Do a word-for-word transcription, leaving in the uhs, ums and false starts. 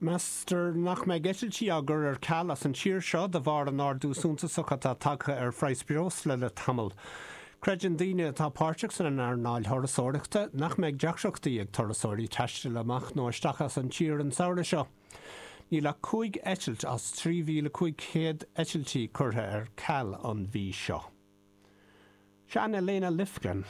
Meastar nach mbeidh eitiltí á gcur ar ceal as an tír seo de bharr an ardú suntasach atá tagtha ar phraghas breosla le tamall. Creideann daoine atá páirteach san earnáil thurasóireachta nach mbeidh deacrachtaí ag turasóirí taisteal amach nó isteach as an tír an samhradh seo. Níl ach cúig eitilt as trí mhíle cúig chéad eitiltí curtha ar ceal an mhí seo. Sin Elena Lifgren.